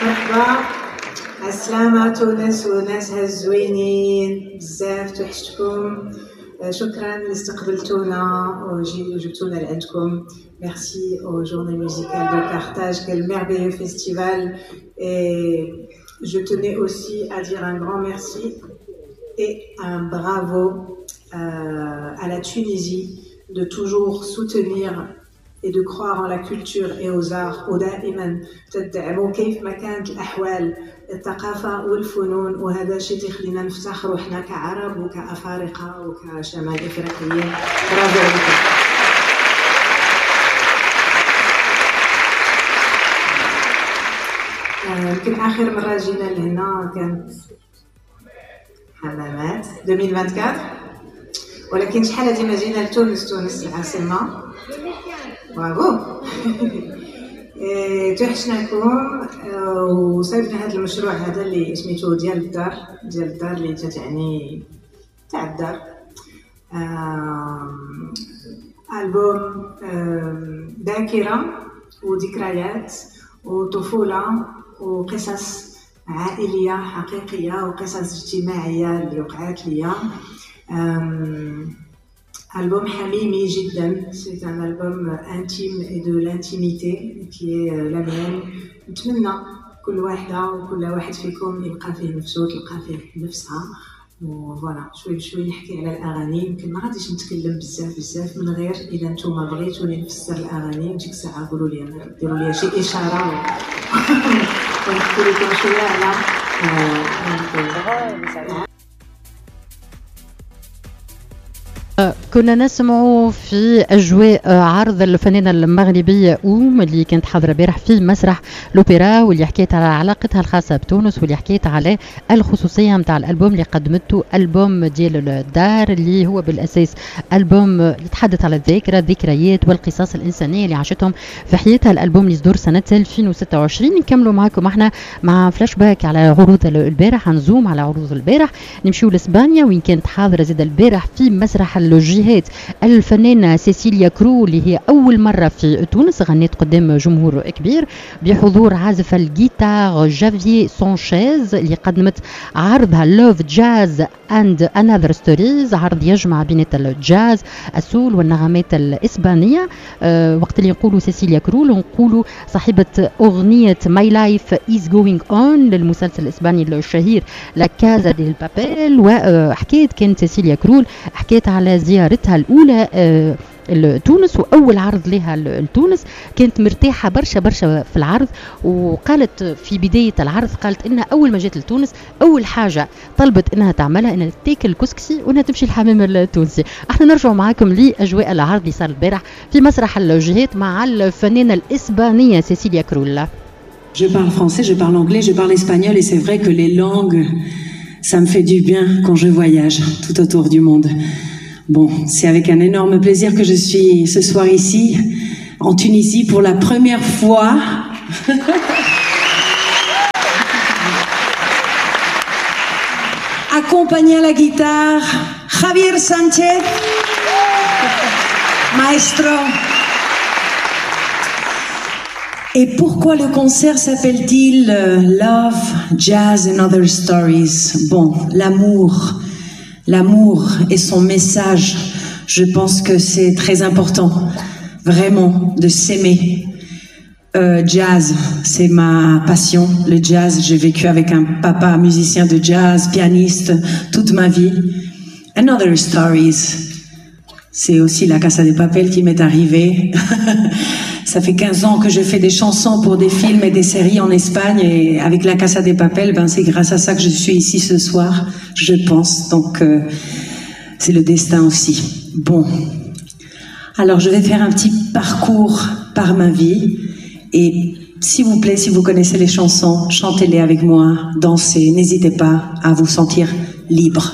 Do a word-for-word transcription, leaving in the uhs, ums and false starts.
مرحبا، عالسلامة تونس وناسها الزوينين بزاف، توحشتكم. شكرا اللي استقبلتونا وجبتونا لعندكم. Merci aux Journées musicales de Carthage, quel merveilleux festival. Et je tenais aussi à dire un grand merci et un bravo euh, à la Tunisie de toujours soutenir et de croire en la culture et aux arts. ودائما تدعموا كيف ما كانت الأحوال الثقافة والفنون، وهذا شيء تخلينا نفتخروا حنا كعرب وكأفارقة وكشمال إفريقيين. برافو عليكم. يمكن آخر مرة جينا لهنا كانت حمامات ألفين وأربعة وعشرين، ولكن شحال هادي ما جينا لتونس، تونس العاصمة. برافو. توحشناكم وصيفنا هذا المشروع هذا اللي سميتو ديال الدار، ديال الدار اللي تتعني تاع الدار. ألبوم ذاكرة وذكريات وطفولة وقصص عائلية حقيقية وقصص اجتماعية اللي وقعت ليا. Album حميمي جدا، c'est un album intime et de l'intimité qui est la mienne. نتمنى كل واحدة وكل واحد فيكم يلقى فيه نفسه وتلقى فيه نفسها. و voilà شوي بشوي نحكي على الأغاني، يمكن ما غاديش نتكلم بزاف بزاف من غير إلا نتوما بغيتوني نفسر الأغاني ديك الساعة قولوا لي، ديروا لي شي إشارة ونحكي لكم شوية على كنا نسمع في أجواء عرض الفنانة المغربية أوم اللي كانت حاضرة البارح في مسرح الأوبرا، واللي حكيت على علاقتها الخاصة بتونس، واللي حكيت على الخصوصية نتاع الألبوم اللي قدمته، ألبوم ديال الدار اللي هو بالأساس ألبوم يتحدث على الذاكرة، الذكريات والقصص الإنسانية اللي عاشتهم في حياتها. الألبوم اللي صدر سنة ألفين وستة وعشرين. نكملوا معاكم احنا مع فلاش باك على عروض البارح، نزوم على عروض البارح، نمشيو لإسبانيا وين كانت حاضرة زاد البارح في مسرح الجهات الفنانة سيسيليا كرو اللي هي أول مرة في تونس غنت قدام جمهور كبير بحضور عازف الجيتار جافيي سانشيز اللي قدمت عرضها Love Jazz and Another Stories، عرض يجمع بين الجاز ال soul والنغمات الإسبانية. أه وقت اللي نقولوا سيسيليا كرول نقولوا صاحبة أغنية My Life Is Going On للمسلسل الإسباني الشهير La Casa de Papel. وحكيت كانت سيسيليا كرول حكيت على زيارتها الأولى لتونس وأول عرض لها لتونس، كانت مرتاحة برشا برشا في العرض، وقالت في بداية العرض قالت إنها أول ما جات لتونس أول حاجة طلبت إنها تعملها إنها تاكل كسكسي وإنها تمشي الحمام التونسي. احنا نرجع معاكم لأجواء العرض اللي صار البارح في مسرح الجهات مع الفنانة الإسبانية سيسيليا كرول. Je parle français, je parle anglais, je parle espagnol et c'est vrai que les langues, ça me fait du bien quand je voyage tout autour du monde. Bon, c'est avec un énorme plaisir que je suis ce soir ici, en Tunisie, pour la première fois. Accompagné à la guitare, Javier Sanchez, maestro. Et pourquoi le concert s'appelle-t-il Love, Jazz and Other Stories? Bon, l'amour. L'amour et son message, je pense que c'est très important, vraiment, de s'aimer. Euh, jazz, c'est ma passion, le jazz. J'ai vécu avec un papa musicien de jazz, pianiste, toute ma vie. And Other Stories, c'est aussi la Casa de Papel qui m'est arrivée. Ça fait quinze ans que je fais des chansons pour des films et des séries en Espagne, et avec la Casa de Papel, ben c'est grâce à ça que je suis ici ce soir, je pense. Donc euh, c'est le destin aussi. Bon, alors je vais faire un petit parcours par ma vie, et s'il vous plaît, si vous connaissez les chansons, chantez-les avec moi, dansez, n'hésitez pas à vous sentir libre.